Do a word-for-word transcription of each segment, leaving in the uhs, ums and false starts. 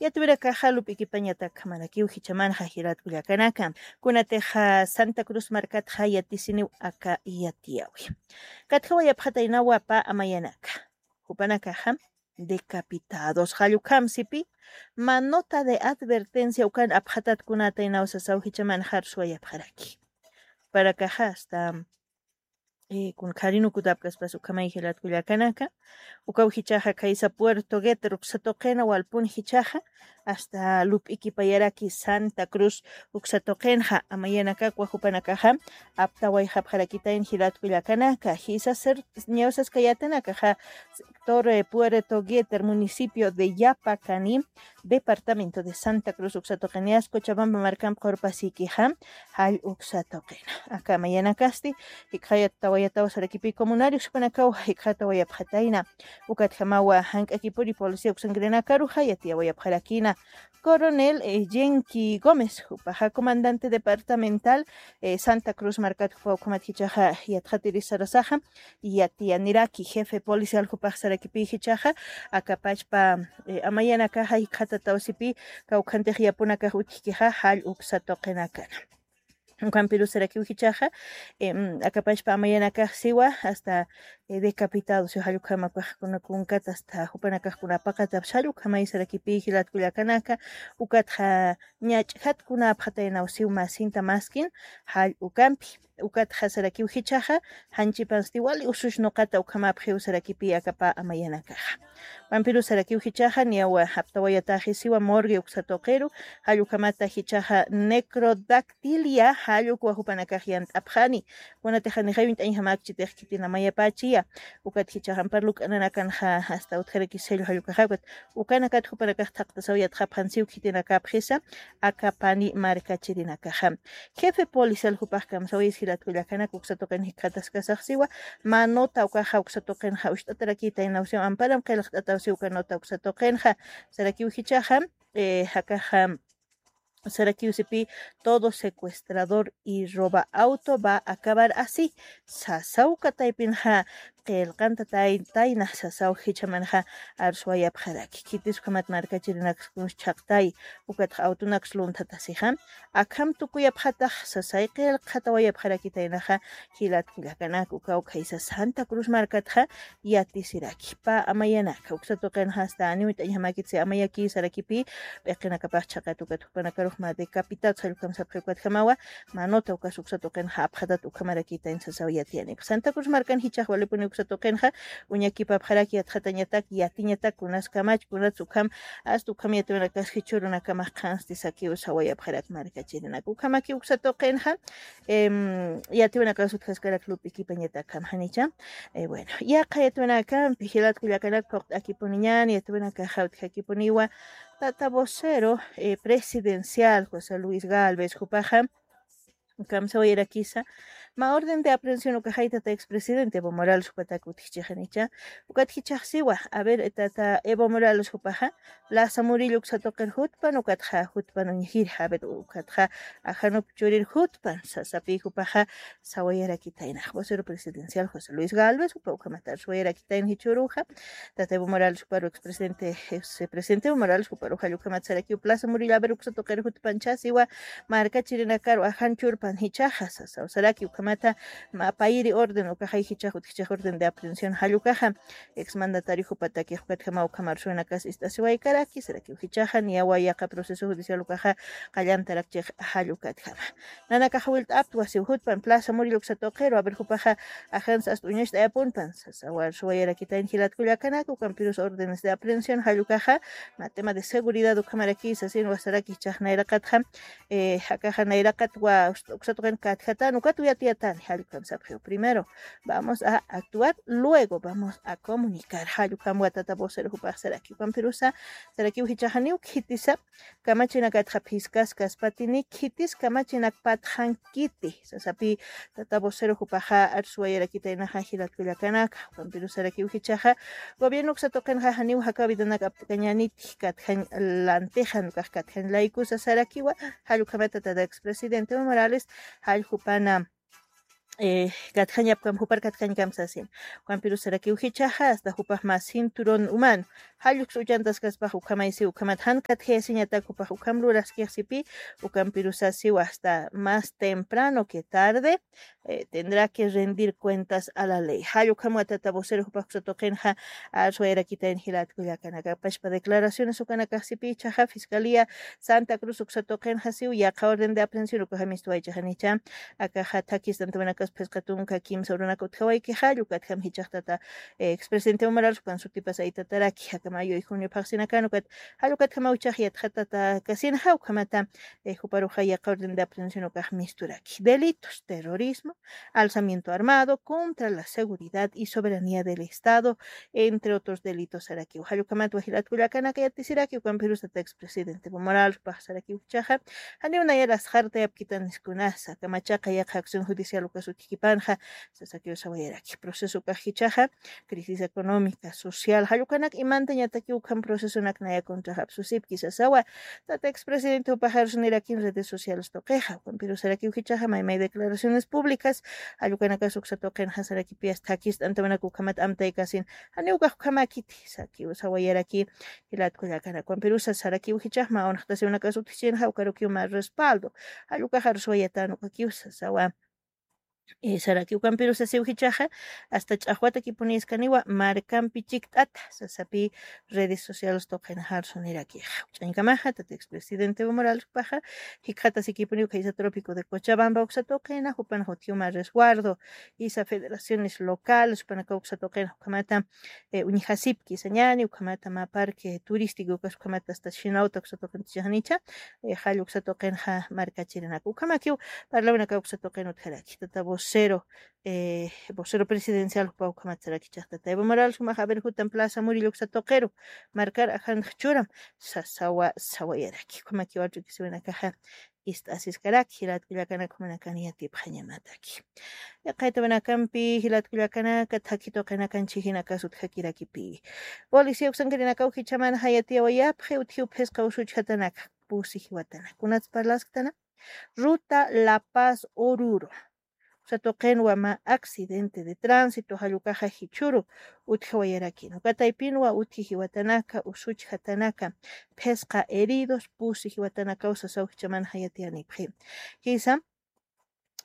Yatwirakaxa lup'ikipañatak khamarakiw jichhamanxa jilat kullakanaka. Kunatixa Santa Cruz markatxa yatisiniw aka yatiyawi. Katjawayapxataynawa pä amayanaka. Jupanakaxa decapitados. Jallukhamsipi, manota de advertencia ukan apxatat kunataynaw sasaw jichhamanxa arsuwayapxaraki. Jupanakaxa hasta eh, kun kharinukutapkaspas ukhamay jilat kullakanaka. Ukaw jichhaxa khaysa Puerto Gueter uksa tuqina walpun jichhaxa, hasta lup'ikipayaraki Santa Cruz uksa tuqinxa, amayanakakwa jupanakaxa aptawayxapxarakitayn jilat kullakanaka. Jisa ser ñawsaskayatanakaxa sector, eh, Puerto Gueter, municipio de Yapacani, departamento de Santa Cruz uksa tuqinïas Cochabamba markamp qurpasikixa, jall uksa tuqina. Aka amayanakasti jikxayatawayataw sarakipi comunarios jupanakaw jikxatawayapxatayna. Ukatjamawa jank'akipuni policía uksankirinakaruxa yatiyawayapxarakina. Coronel, eh, Yenki Gómez, jupaxa comandante departamental, eh, Santa Cruz markat jupa ukhamat jichhaxa yatxatiris sarasaxa, yatiyaniraki jefe policial jupax sarakipi jichhaxa, akapachpa, eh, amayanakaxa jikxatatawsipi, kawkhantix yapunakax utjkixa, jall uksa tuqinakana. Ukhampiru sarakiw jichhaxa, em, akapachpa amayanakax siwa, hasta, eh, decapitados, jall ukhama ukax kuna kunkat, hasta jupanakax kuna paqatapsa, jall ukhamay sarakipi jilat kullakanaka, ukatxa ñach'jat kuna apxataynaw siw masinta maskin, jall ukampi. Ukatxa sarakiw jichhaxa, janchipansti wali usus nuqata ukhamapxiw sarakipi aka pä amayanakaxa. Ukhampiru sarakiw jichhaxa, niyawa aptawayataxi siwa morgue uksa tuqiru, jall ukhamata jichhaxa necrodactilia, jall ukwa jupanakax yant'apxani. Kunatixa nixay uñt'añjamakchitix khitin amayapächiya. Ukat jichhaxa ampar luk'ananakanxa hasta utjaraki sello jall ukaxa, ukat ukanakat jupanakax thaqtasaw yatxapxan siw khitinakapxisa, aka pani markachirinakaxa. Jefe policial jupax kamsawayis jilat kullakanaka uksa tuqin jikxataskasax siwa, manota ukaxa uksa tuqinxa ucht'atarakitaynaw siw, amparam qillqt'ataw siw uka nota uksa tuqinxa, sarakiw jichhaxa, eh, jakaxa, sarakiw sipi, todo secuestrador y roba auto va a acabar así, sasaw uka taypinxa, qillqantatayna sasaw jichhamanxa arsuwayapxaraki. Khitis ukhamat markachirinaks kuns chhaqtay, ukatxa awtunaks lunthatasixa, akham tukuyapxatax sasay qillqatawayapxarakitaynaxa, jilat kullakanaka, ukaw khaysa Santa Cruz markatxa yatisiraki. Pä amayanaka, uksa tuqinxa hasta ani uñt'añjamakitsi amayaki sarakipi, p'iqinakapax chhaqat ukat jupanakarux mä decapitados jall ukham sapxi ukatjamawa, manota ukas uksa tuqinxa apxatat ukhamarakitayn sasaw yatiyanipx. Santa Cruz markan jichhax walipuni uksa tuqinxa, uñakipapxaraki yatxatañatak, yatiñatak, kunaskamach, kunats ukham, hasta ukham yatiwanakas jichhürunakamax qhansti sakiw sawayapxarak markachirinaka. Ukhamaki uksa tuqinxa, em, yatiwanakas utjaskarak lup'ikipañatak ukham janicha. Eh, bueno, yaqha yatiwanakampi jilat kullakanaka phuqt'akipuniñan, yatiwanakaxa utjakipuniwa, tata vocero, eh, presidencial José Luis Galvez, jupaxa kamsawayarakisa, mä orden de aprehensión ukaxay tata expresidente Evo Morales jupatak utjchixanicha, ukat jichhax siwa, a ver, eh, tata Evo Morales jupaxa, Plaza Murillo uksa tuqir jutpan, ukatxa jutpan uñjir, a ver, ukatxa ajanup churir jutpan, sasapi jupaxa sawayarakitaynax, vocero presidencial José Luis Galvez, jupa ukhamat arsuwayarakitayna jichhüruxa, tata Evo Morales juparu expresidente, ex presidente Evo Morales juparu jall ukhamat sarakiw Plaza Murillo, a ver, uksa tuqir jutpan chasiwa, markachirinakaru ajan churpan jichhaxa, sasaw saraki ukhamata, mä payiri orden, ukaxay jichhax utjchix orden de aprehensión jall ukaxa, exmandatario jupatakix ukatjamaw ukham arsuwinakas ist'asiwaykaraki, sarakiw jichhaxa, niyawa yaqa proceso judicial ukaxa, qallantarakchix jall ukatjama. Nanakax wilt'aptwa siw jutpan, Plaza Murillo uksa tuqiru, a ver, jupaxa, ajansa hasta uñacht'ayapunpan, sasaw arsuwayarakitayna jilat kullakanaka, ukampirus órdenes de aprehensión jall ukaxa, mä tema de seguridad ukhamaraki, sasin wasaraki jichhax nayraqatxa, eh, akaxa nayraqatwa, uksa tuqin katjatan, ukat uyatiyatan, jall ukham sapxiw. Primero vamos a actuar, luego vamos a comunicar. Jall ukhamwa tata vocero jupax saraki. Ukhampirusa, sarakiw jichhaxa niw khitisa, kamachinakatxa phiskaskaspatini, khitis kamachinak patxankiti, sasapi tata vocero jupaxa arsuwayarakitaynaxa jilat kullakanaka. Ukhampirusa sarakiw jichhaxa, gobierno uksa tuqinxa janiw jakaw vidanak apt'kañäniti, katjañ lantixan, ukax katjañ laykusa sarakiwa, jall ukhamata tata expresidente Evo Morales, jall jupana eh, katjañapkam, jupar katjañkam sasin. Ukampirus sarakiw jichhaxa, hasta jupax mä cinturón humano. Jalluksa uchantaskaspax ukhamaysi, ukhamat jan katjayasiñatak jupax ukham luraskix sipi, ukampirus sasiw hasta más temprano que tarde, eh, tendrá que rendir cuentas a la ley. Jall ukham wa tata vocero jupax uksa tuqinxa, arswayarakitayn jilat kullakanaka. Pachpa declaraciones ukanakax sipi jichhaxa, Fiscalía Santa Cruz uksa tuqinxa siw, yaqha orden de aprehensión ukaxa mistuwaychaxa nicha, akaxa thakistantawinakas phisqa tunka kimsa urunaka utjawaykixa, jall ukatjam jichhax tata, eh, expresidente Evo Morales ukan sutipas aytataraki, aka mayo y junio phaxsinakan ukat, jall ukatjamaw jichhax yatxatatakäsinxa, ukhamata, eh, juparuxa yaqha orden de aprehensión ukax misturaki. Delitos, terrorismo, alzamiento armado contra la seguridad y soberanía del Estado, entre otros delitos sarakiw. Jall ukhamat wa jilat kullakanaka yatisiraki, ukampirus tata expresidente Evo Morales jupax sarakiw jichhaxa, janiw nayar asxartayapkitan niskunasa, kamachaqa yaqha acción judicial ukas utjkipanxa, sasakiw sawayaraki. Proceso ukax jichhaxa, crisis económica, social, jall ukanak imantañataki ukham procesonak naya contrax apsusipki sasawa, tata expresidente jupax arsunirakin redes sociales tuqixa, ukampirus sarakiw jichhaxa, maymay declaraciones públicas, jall ukanakas uksa tuqinxa sarakipi hasta thakistantawinaka ukhamat amtaykasin, janiw ukax ukhamäkiti, sakiw sawayaraki, jilat kullakanaka. Ukampirus sarakiw jichhax mä unxtasiwinakas utjchinxa, ukarukiw mä respaldo, jall ukax arsuwayatän ukakiw sasawa. Eh, sarakiw ukampirus sasiw jichhaxa, hasta ch'axwatakipuniskaniwa markampi chikt'ata, sasapi redes sociales tuqinxa arsunirakixa. Ch'añkamaxa, tata expresidente Evo Morales jupaxa, jikxatasikipuniw khaysa trópico de Cochabamba uksa tuqina, jupan utjiw mä resguardo, jisa federaciones locales, jupanakaw uksa tuqina, ukhamata, eh, uñjasipki sañani, ukhamata mä parque turístico ukas, ukhamata hasta Shinauta uksa tuqintichaxnicha, eh, jall uksa tuqinxa markachirinaka. Ukhamakiw parlawinakaw uksa tuqin utjaraki. Tata vocero, eh, vocero presidencial jupa ukhamat saraki jichhax tata Evo Morales jumax, a ver, jutam Plaza Murillo uksa tuqiru, markar ajantx churam, sasawa, sawayaraki. Ukhamakiw arch'ukisiwinakaxa ist'asiskaraki, jilat kullakanaka, jumanakan yatipxañamataki. Yaqha yatawinakampi jilat kullakanaka, thakhi tuqinakan chhijinakas utjakirakipi. Policía uksankirinakaw jichhamanxa yatiyawayapxi utjiw phisqa usuchjatanaka, pusi jiwatanaka. Kunats parlasktana? Ruta La Paz Oruro. Uksa tuqinwa mä accidente de tránsito, jall ukaxa jichhüru utjawayarakin. Uka taypinwa utji jiwatanaka, usuchjatanaka, phisqa heridos, pusi jiwatanakaw sasaw jichhamanxa yatiyanipxi. Jisa,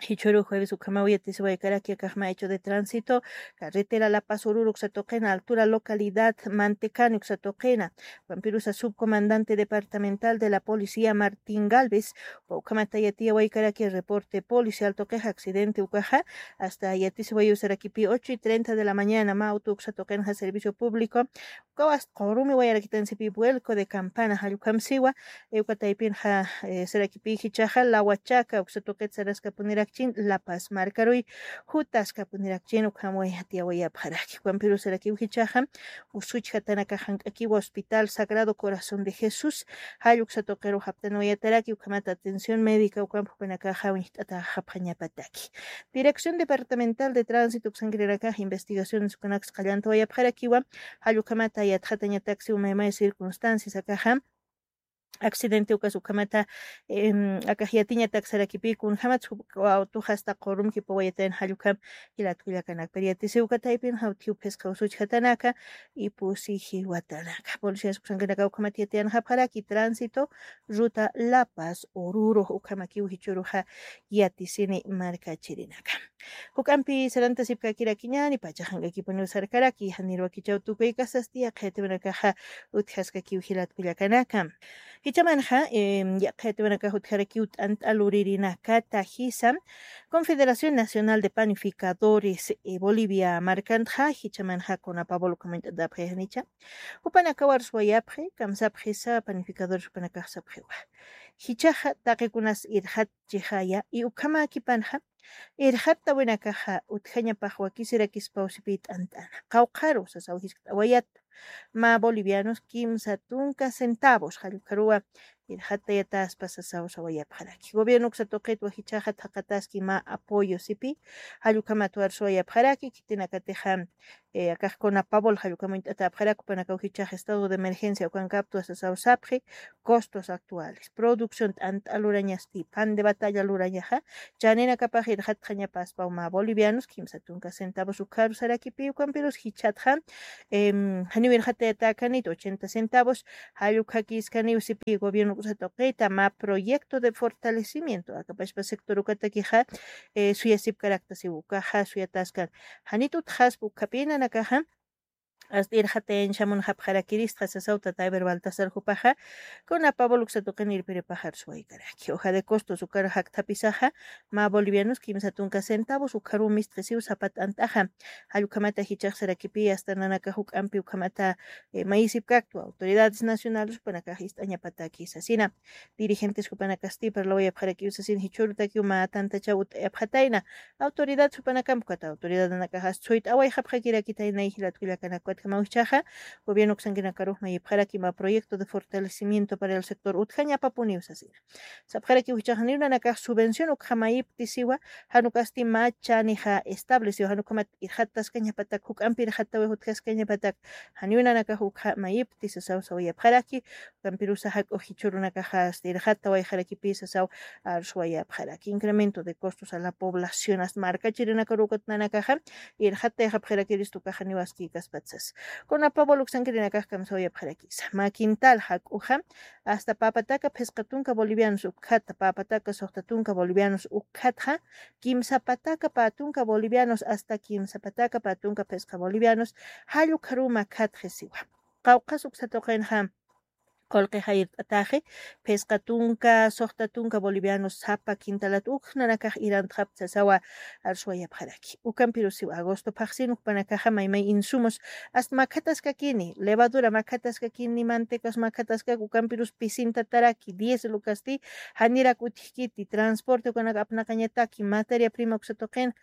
jichhüru jueves ukhamaw yatisiwaykaraki akax mä hecho de tránsito, carretera La Paz Oruro uksa tuqina, altura localidad Mantecani uksa tuqina, ukhampirusa subcomandante departamental de la policía Martín Galvez, ukhamata yatiyawaykaraki reporte policial tuqix accidente ukaxa, hasta yatisiwayu sarakipi ocho y treinta de la mañana, mä auto uksa tuqinxa servicio público, ukaw hasta qurumi wayarakitansipi vuelco de campana, jall ukham siwa, eh, uka taypinxa, eh, sarakipi jichhaxa, Lawachaka uksa tuqit saraskapunirakchin, La Paz markaruy jutaskapunirakchin, ukham yatiyawayapxaraki. Ukhampiru sarakiw jichhaxa, usuchjatanakax jank'akiwa Hospital Sagrado Corazón de Jesús, jall uksa tuqiru japtanwayataraki, ukhamat atención médica ukham jupanakaxa uñjt'atäxapxañapataki. Dirección Departamental de Tránsito uksankirinakax investigaciones ukanaks qallantawayapxarakiwa, jall ukhamata yatxatañataksi umaymay circunstancias akaxa, accidente ukas ukhamata, em, akax yatiñatak sarakipi, kunjamat autoxa hasta qurum jipawayatayan, jall ukham jilat kullakanaka. Pero yatisiw uka taypinxa utjiw phisqa usuchjatanaka y pusi jiwatanaka. Policías uksankinakaw ukhamat yatiyanxapxaraki tránsito, ruta La Paz Oruro, ukhamakiw jichhüruxa yatisini markachirinaka. Juk'ampi sarantasipkakirakiñäni, pachax jank'akipuniw sarkaraki, janir wakichaw tukuykasasti yaqha yatawinakaxa utjaskakiw jilat kullakanaka. Jichhamanxa, em, yaqha yatawinakax utjarakiw t'ant'a luririnakata jisa, Confederación Nacional de Panificadores, eh, Bolivia markantxa, jichhamanxa CONAPABOL ukham uñt'atapxi janicha. Jupanakaw arswayapxi, kamsapxisa panificadores jupanakax sapxiwa. Jichhaxa taqikunas irxatchixaya, y ukhamäkipanxa, irxattawinakaxa utjañapax wakisirakispaw sipi t'ant'ana. Qawqharu sasaw jiskt'awayat, mä bolivianos kimsa tunka centavos, jall ukharuwa, irxatayataspa sasaw sawayapxaraki. Gobierno uksa tuqit wajichaxa thaqataski mä apoyo sipi, jallukhamat warsuwayapxaraki, khitinakatixa, eh, akax CONAPABOL jallukhamuñt'atapxarak, jupanakaw jichax estado de emergencia ukankaptwa sasaw sapxi, costos actuales, producción t'ant'a lurañasti, pan de batalla lurañaxa, chaninakapax irxatxañapaspaw mä bolivianos kimsa tunka centavos ukharu sarakipi, ukampirus jichhatxa, em, janiw irxatayatäkanit ochenta centavos, jallukhakiskaniw sipi gobierno uksa tuqita mä proyecto de fortalecimiento akapashpa sector ukatakixa, eh, suyasipkarakta siw ukaxa suyataskan. Janit utjaspa ukhapï nanakaxa, hasta irxatayañchamunxapxarakiristxa sasaw tata Eber Baltasar jupaxa, CONAPABOL uksa tuqin irpiripaxar suwaykaraki. Hoja de costos ukar jakthapisaxa, mä bolivianos kimsa tunka centavos ukharu mistxisiw sapa t'ant'axa. Jallukhamata jichax sarakipi hasta nanakax juk'ampi ukhamata, eh, mayisipkaktwa autoridades nacionales jupanakax ist'añapataki sasina. Dirigentes jupanakasti parlawayapxarakiw sasin jichhürutakiw mä tantachaw ut'ayapxatayna. Autoridad supanakamp ukat autoridadanakaxa suyt'awayxapxakirakitayna jilat kullakanakatjamaw jichhaxa, gobierno uksankinakaruxma yipxaraki mä proyecto de fortalecimiento para el sector utjañapapuniw sasina. Sapxarakiw jichhaxa niw nanakax subvención ukxama yiptisiwa, janukasti mä chanixa estableciwa, janukhamat irxattaskañapatak juk'ampi irxattaway jutjaskañapatak, janiw nanakax ukxama yiptisisaw sawayapxaraki. Ukampirusa jak'u jichhürunakaxa hasta irxattawayxarakipisa saw arsuwayapxaraki. Incremento de costos a la población, hasta markachirinakarukat nanakaxa irxattayxapxarakiristu ukaxa niwaskïkaspatsa sas. CONAPABOL uksankirinakax kamsawayapxarakisa. Mä quintal jak'uxa hasta pä pataka phisqa tunka bolivianos ukkhatxa, pä pataka suxta tunka bolivianos ukkhatxa, kimsa pataka pä tunka bolivianos hasta kimsa pataka pä tunka phisqa bolivianos, jallukharuma khatxisiwa. Qawqhas uksa tuqinxa qullqi jayrt'ataxi, phisqa tunka, suxta tunka bolivianos sapa quintalat uk nanakax irantxapta sasawa arsuwayapxaraki. Ukampirusiw agosto phaxsin ukpanakaxa maymay insumos, hasta makhataskakini, levadura makhataskakini, mantecas makhataskaki, ukampirus pisintataraki, diésel ukasti, janirak utjkiti, transporte ukanak apnaqañataki, materia prima uksa tuqin,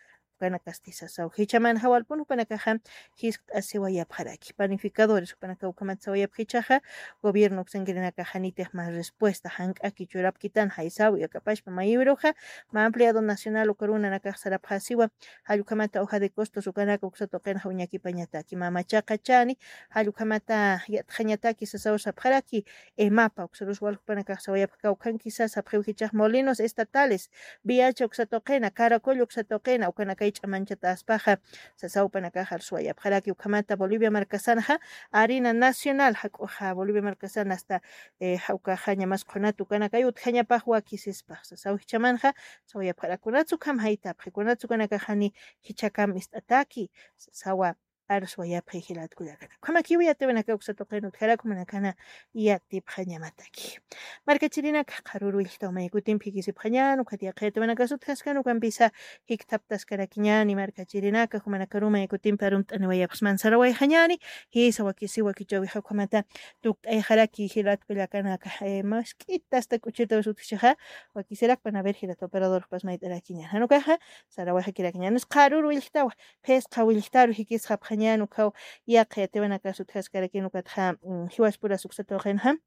ukanakasti sasaw. Jichhamanxa walpun jupanakaxa jiskt'asiwayapxaraki. Panificadores jupanakaw ukhamat sawayapxichaxa, gobierno uksankirinakaxa nitix mä respuesta jank'aki churapkitan jaysaw, akapashpa mayiwiruxa, mä empleado nacional ukarunanakax sarapxasiwa, jallukhamata hoja de costos ukanaka uksa tuqinxa uñakipañataki, mä machaqa chani, jallukhamata yatxañataki sasaw sapxaraki, EMAPA uksarus wal jupanakax sawayapxi kawkhankisa sapxiw jichhax molinos estatales, Viacha uksa tuqina, Caracollo uksa tuqina, ukanakay ch'amanchataspaxa, sasaw jupanakax arsuwayapxaraki ukhamata Bolivia markasanxa, harina nacional, jak'uxa Bolivia markasan hasta, eh, ja-, ukaxa ñamas qhunat ukanakay utjañapax wakisispax, sasaw jichhamanxa, sawayapxaraki kunats ukham jaytapxi, kunats ukanakaxani jichhakam ist'ataki, sasawa, arsuwayapxi jilat kullakanaka. Ukhamakiw yatiwanaka uksa tuqin utjarak jumanakana yatipxañamataki. Markachirinaka, qharüru willktaw may kutimpi jikisipxañän, ukat yaqha yatiwanakas utjaskan, ukampisa jikthaptaskarakiñäni markachirinaka, jumanakaru may kutimpi arumt'aniwayapxsman sarawayxañäni, jisa wakisi wakichäwixa ukhamata tukt'ayxaraki jilat kullakanaka, eh, mask'ita hasta k'uchirtawis utjchixa, wakisirakpan a ver jilat operador jupas mayt'arakiñän. Jan ukaxa, sarawayxakirakiñäni, qharüru willktawa, phisqa willktaru jikisxapxañän ukhaw yaqha yatiwanakas utjaskarakin ukatxa, mm, jiwaspuras uksa tuqinxa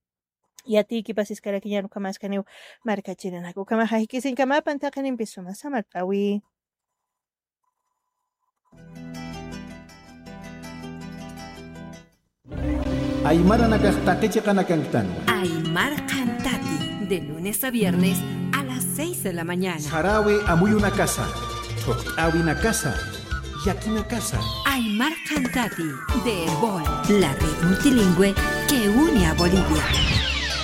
yatiykipasiskarakiñän ukhamaskaniw markachirinaka. Ukhamaxa jikisiñkamapan taqinimpis suma samart'awi. Aymaranakax taqi chiqanakanktanwa. Aymar Qhantati, de lunes a viernes a las seis de la mañana. Sarawi amuyunakasa, thuqt'awinakasa, yakinakasa. Aymar Qhantati, de Erbol, la red multilingüe que une a Bolivia.